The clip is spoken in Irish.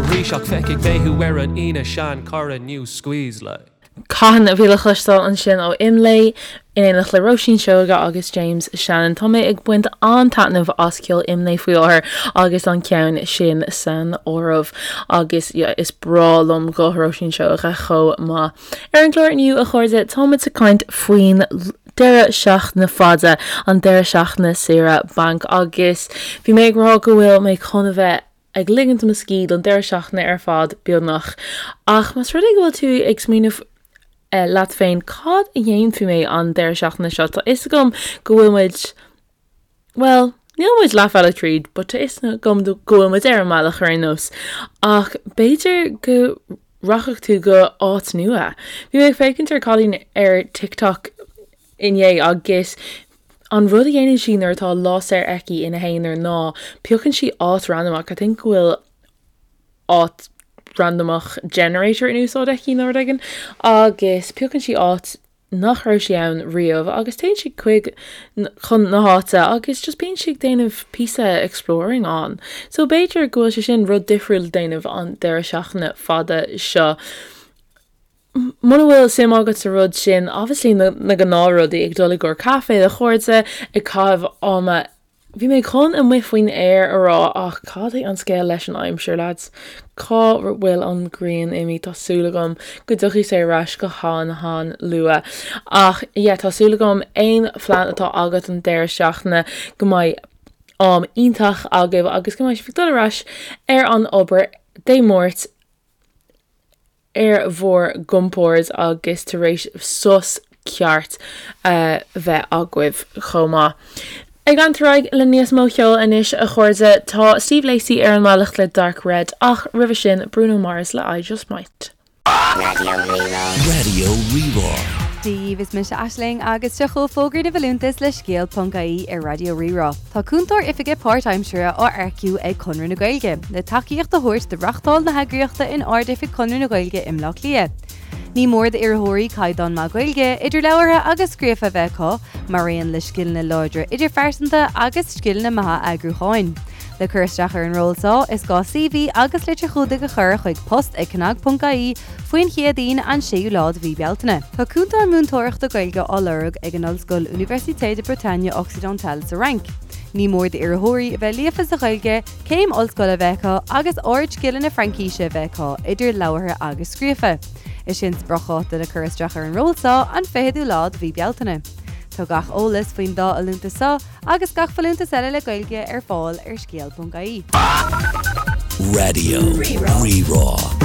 arís ach feicfidh mé thú ar an Aoine seanchara new squeeze like. Cathain a bhí le cloisteáil ansin ó Imlé, in éineacht le Róisín Seoige agus James Shannon. Tá mé ag baint an-taitneamh as ceol Imlé faoi láthair agus an ceann sin san áireamh. Agus yeah, is breá liom guth Róisín Seoige chomh maith. Ar an gclár inniu, a chairde, táimid ag caint faoin deireadh seachtaine fada, an deireadh seachtaine saoire bainc agus bhí mé ag rá go bhfuil mé chun a bheith ag ligint mo scíth don deireadh seachtaine ar fad, beagnach. Ach más rud é go bhfuil tú ag smaoineamh leat féin cad a dhéanfaidh mé an deireadh seachtaine seo, tá fhios agam go bhfuil muid, bhuel, níl muid leathbhealach tríd, but tá fhios agam go bhfuil muid ar an mbealach ar aon nós. Ach b'fhéidir go rachadh tú go áit nua. Bhí mé ag féachaint ar cailín ar TikTok inné agus an rud a dhéanann sí nuair atá lá saor aici ina haonar ná piocann sí áit randamach, I think go bhfuil áit randamach generator in úsáid aici nó rud éigin, agus piocann sí áit nach raibh sí ann riamh agus téann sí chuig chun na háite agus just bíonn sí ag déanamh píosa exploring ann. So b'fhéidir go bhfuil sé sin rud difriúil le déanamh an deireadh seachtaine fada seo. Muna bhfuil suim agat sa rud sin, obviously na na gnáthrudaí, ag dul i gcomhair caife le chairde, ag caitheamh ama, bhí mé chun amuigh faoin aer a rá ach cad é an scéal leis an aimsir, lads? Cá bhfuil an ghrian imithe? Tá súil agam go dtiocfaidh sé ar ais go han han-luath. Ach yeah, tá súil agam aon phlean atá agat don deireadh seachtaine go mbeidh am iontach agaibh agus go mbeidh sibh ag dul ar ais ar an obair Dé Máirt ar bhur gcompord agus tar éis sos ceart a bheith agaibh chomh maith. Ag leanúint ar aghaidh le níos mó ceoil anois a chairde, tá Steve Lacy ar an mbealach le Dark Red ach roimhe sin Bruno Mars le I Just Might. Raidió Rí-Rá. Raidió Rí-Rá. Dia dhaoibh, is mise Aisling agus seo chugaibh fógraí na bhfolúntas le Scéal.ie ar Raidió Rí-Rá. Tá cúntóir oifige páirtaimseartha á earcú ag Conradh na Gaeilge le tacaíocht a thabhairt do reachtáil na heagraíochta in Ard-Oifig Chonradh na Gaeilge i mBleá Cliath. Ní mór d'iarrthóirí caighdeán maith Gaeilge, idir labhartha agus scríofa a bheith acu, mar aon le scileanna láidre idirphearsanta agus scileanna maithe eagrúcháin. Le cur isteach ar an ról seo, is gá CV agus litir chumhdaigh a chur chuig post ag cnag.ie faoin Chéadaoin, an 6ú lá de mhí Bealtaine. Tá cúntóir múinteoireachta Gaeilge á lorg ag an ollscoil Université de Bretagne Occidentale sa Fhrainc. Ní mór d'iarrthóirí a bheith líofa sa Ghaeilge, céim ollscoile a bheith acu agus ardscileanna Fraincíse a bheith acu, idir labhartha agus scríofa. Is é an spriocdháta le cur isteach ar an ról seo an 20ú lá de mhí Bealtaine. Tá gach eolas faoin dá fholúntas seo Agus gach folúntas eile le Gaeilge ar fáil ar scéal.ie. Raidió Rí-Rá.